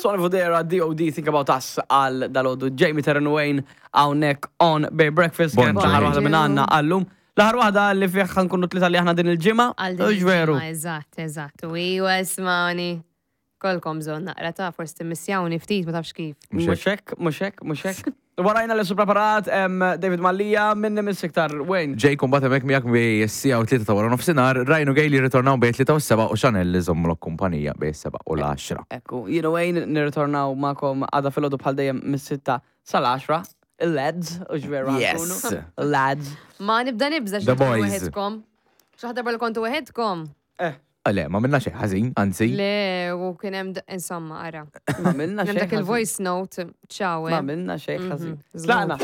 Sonny Fodera, DOD, Think About Us għal dalodu Jamie Terren Wayne hawnhekk on Bay Breakfast. Kienet Bonġu. l-aħħar waħda minn għandna għallum. L-aħħar waħda li fih ħankunu tlita li aħna din il-ġimgħa. Għal din Hux veru. il-ġimgħa, Eżatt, eżatt. U iwa ismani. Kolkom bżonn naqra ta' forsi timmissjawni ftit ma tafx kif. Mhux hekk, mhux hekk, mhux hekk. Warajna li su preparat em, David Mallia minni minn siktar Wayne. Jake mbagħad hemmhekk miegħek bej is-siegħa u tlieta ta' wara nofsinhar, Ryan u Gail jirritornaw bejn tlieta u s-seba' u Chanel li żommlok kumpanija bejn is-seba' u l-għaxra. Ekku, jien u Wayne nirritornaw magħkom għada filgħodu bħal dejjem mis-sitta sal-10. Il-lads, u ġveru Yes. ħankunu. Lads. Ma nibda nibża The xi tkunu boys. weħedkom. Xi ħadd darba li kontu weħedkom. Eh, Ah, Le, ma minna xejn ħażin, anzi. Le, u kien hemm insomma ara. ma minna Kien hemm xejn. dak il-voice note. Ciao. Ma eh. minna xejn ħażin. Mhm, Tlaqna.